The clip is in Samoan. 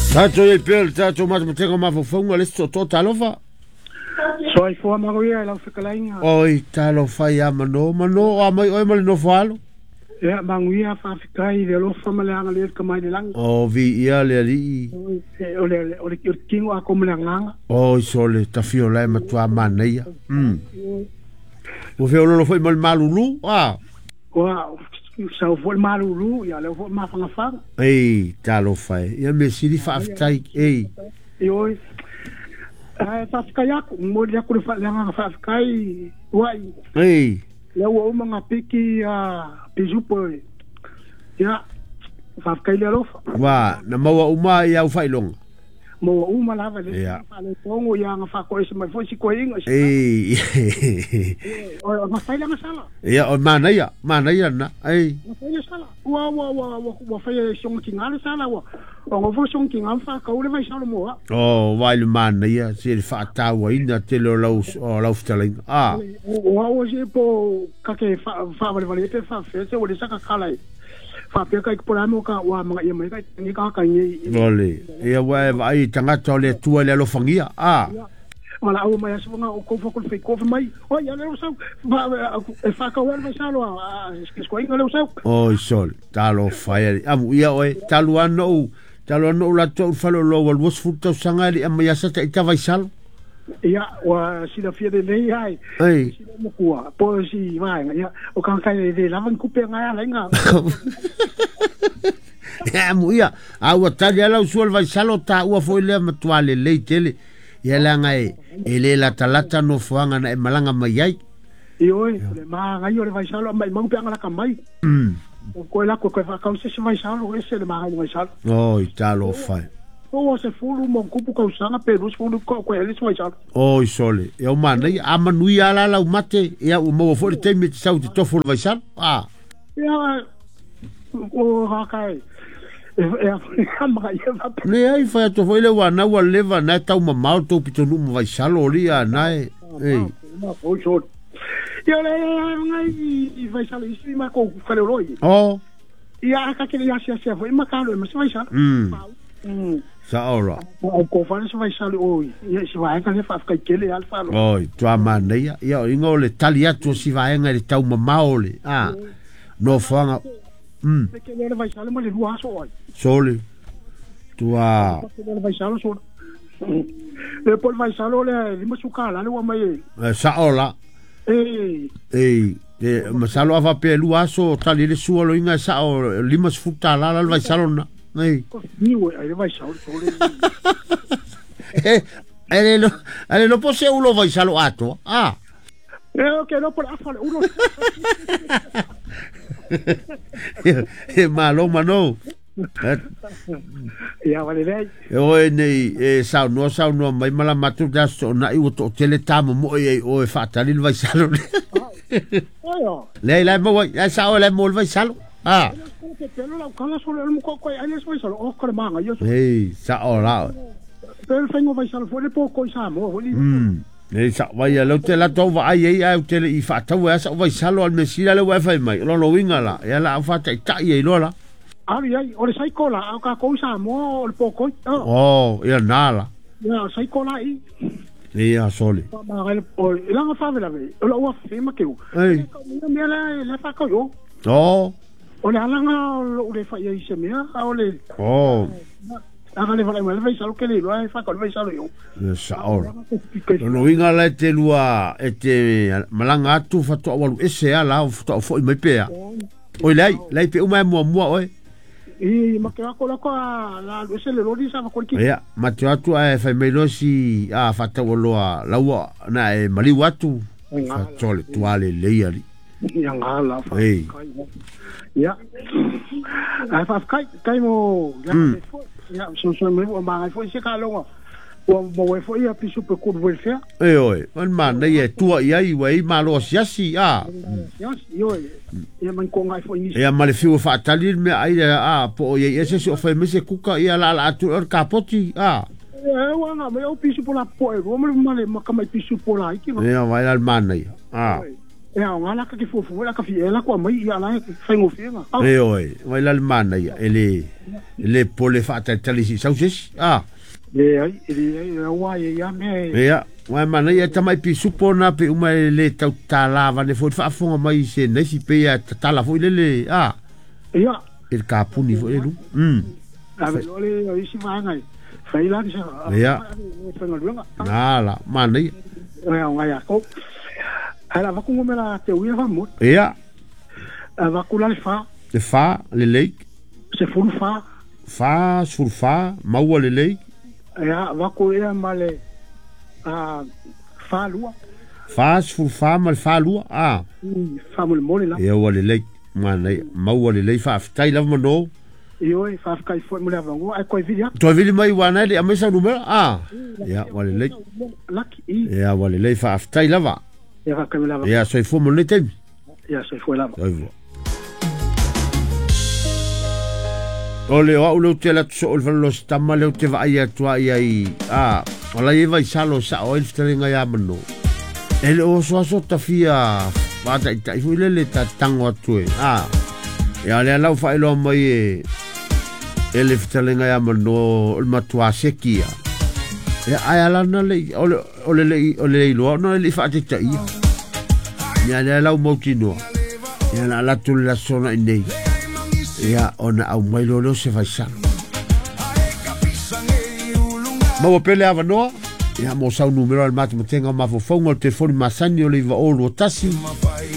Tatou i ai pea le tatou matematega o mafaufauga le isi tootoo talofa. Soifua manuia i lau fetalaiga. Oi, talofa ia Mano, Mano o a mai oe ma le nofo alo. Ia, manuia, faafetai i le alofa ma le agalelei o le Tama i le lagi. O, viia le Alii. O le, o le, o le tino atoa ma le agaga. Oi, sole, tafio la e matua manaia. Ua feololo foi ma le malulu, a? Ua sau foi le malulu, ia lea foi mafagafaga. Ei, talofa e. Ia mea sili faafetai, ei. Ioe. Ae faafetai atu, momoli atu le agaga faafetai uai. Ei. Lea ua uma na piki a pisupo. Ia, faafetai le alofa. Ua, na maua uma i au faailoga. Maua uma lava le faaletonu ia na faatoese mai foi si toeaina. Ei. O na fai lana sala. Ia, o manaia, manaia na. Ei. Na fai le sala. Ua ua ua ua ua fai e songa tinga le sala ua. O ngo fo songa tinga fa kau le vai salo moa. O, vai le manaia, se le faatauaina tele o lau fetalaiga. Ah. Ua ua se po ka ke fa fa vale vale pe fa fe se o le saka kala. Fa pe kai ko mo ka ua manga ia mai kai ni ka ka ni. Ole, ia ua e vaai tagata o le Atua i le alofagia. Ah. Wala au mai aso nga o ko fa ko fe ko mai. O ia le sau e fa ka wala salo a sko inga le sau. Oi sol, talofa e. Amu ia oe, talu ano talu ano la to falo lo wal was fu tau sanga li ama ya sa ta ita vai salo. Ia wa sila fia de nei ai. Ei. Sila mo kua po si vai ia o kan kai le lavan kupe nga ala nga. Ia amu ia, a ua tali ala usual vai salo ta ua foi lea matua le lei tele. Ia langa e le latalata no fuanga na e malanga mai ai. Ioe, le maga o le vai salo mai mau pe anga la kamai. O koe la koe fa kau se vai salo ese le maga vai salo. Oi, talofa. O se fulu mo kupu kau sanga pe rus fulu ko koe le vai salo. Oi sole, e o manai a manui ala lau mate ia o mo fo le taimi te sau te tofu le vai salo. Ah. Ia o ha kai. Le ai fai atu foi le wana ua leva na tau mamao tau pitonu ma vai salo li a nai. Ei. Ia le ngai i vai salo isi ma ko fale roi. Oh. Ia ka ke ia sia sia foi ma ka lo ma vai salo. Sa ora. O ko fale se vai salo o ia se vai ka le fa ka kele al fa lo. Oi, tua manaia. Ia ingo le tali atu si vaenga le tau mamao le. Ah. No fanga. Ke le vai salo ma le lua aso ai. Sole. Tua. Ke le vai salo so. Le pol vai salo le lima suka la le wa mai. Sa ora. Ei. Ei, e masalo ava pe lua aso tali le sua lo inga sa o lima sfuta la la vai salo na. Ei. Ni we ai vai salo sole. Ele lo pose ulo vai salo ato. Ah. E ke lo por afa le ulo. E malo mano. Ia vale lei. E oe nei e saunoa mai mala matu das to na i o tele tamo mo e o e faatali le vai salo. Le la mo ai sa o le mo vai salo. Ah. Ke pelo la kala solo el mo ko ai le vai salo o ko manga yo. Ei, sa o la. Pelo fengo vai salo fo le po ko sa mo. Nei sa vai lo te la to va ai ai te le i faatau sa vai salo al mesira le wa fai mai. Lo lo winga la. Ia la fa tai tai e lo la. Ari ai, o le saikola, au ka kousa mo o le pokoi. Oh, ia nala. Ia saikola i. Ia sole. Ma le o la fa vela ve. O la ua fe ma keu. Ei. Ia mea la le fa ko yo. Oh. O le alanga o le fa ia i se mea, o le. Oh. Aga le vala le vai salo ke le lo fa ko le vai salo yo. Ia sa ora. Lo inga la te lua e te malanga atu fatoa walu ese ala o fatoa foi mai pea. Oi lai, lai pe uma mua mua oi. I ma ke ako la ko la se le lori sa ko ki. Ia, ma te atu ai fai mai losi a fatau loa laua na e maliu atu. Fatole tuale leia li. Ia ngala fa. Ei. Ia. Ai fa kai kai mo ya ia so so me o ma foi se ka longa. O mo e foi a pisu pe ku welfare. E oi, man man nei e tua ia i wei malo siasi a. Ia io ia man ko ngai foi ni. Ia ma le fiu faatali me ai a po ia ese se o fai mese kuka ia la la atu or kapoti a. E wa nga me o pisu po la po e ro me ma le ma ka mai pisu po la iki. Ia vai la man nei. A. E aoga la ka te fuafua la ka fia la ko mai ia la faigofie E oe, vai la le manaia, e le pole faatalitali si sau sesi. Ah. Leai, e leai, aua e ia mea e. Ia, uae manaia e tamai pisupo na pe uma e le tautatala vane foi le faafofoga mai se naisi pe ia tatala foi lele a. Ia. E le kapuni foi le lu. Ave loa le isi vaega e fai la sa. Ia. Faigaluega. Na la, manaia. E aoga ia kou. Ae la vaku ngomela te uia fa mo. Ia. Vaku la le fa. Le fa, le lei. 14. Fa, 14, maua le lei. Ia, vaku ia ma le fa lua. Fa, 14 ma le fa lua. Ah. Fa mo le mole la. Ia ua le lei. Manaia, maua le lei faafetai lava mano. Ioe, faafetai foi mo le avanoa, ae toe vili atu. Toe vili mai ua nai le aumai sau numera. Ah. Ia, ua lelei. Laki, i. Ia, ua lelei faafetai lava. Ia, faafetai mo le avanoa. Ia, soifua mo lenei taimi. Ia, soifua lava. Soifua. O le o au leu te alu atu soo i le faleoloa tama leu te vaai atu ai ai a o la e vaisalo sao ai le fetalaiga iā mano. E le o asoaso tafia faataitai foi lele tatango atu e a ia lea lau faailoa mai e le fetalaiga iā mano o le matuā seki ia. Ia ae alana le o le o le iloa ona le faataitaia. Ia lea lau mautinoa. Ia na ala atu le aso na i nei. Ia ona au mai loa leo se vaisalo. Maua pele avanoa. Ia mo sau numero al matematenga o mafaufauga o le telefoni masani o le 921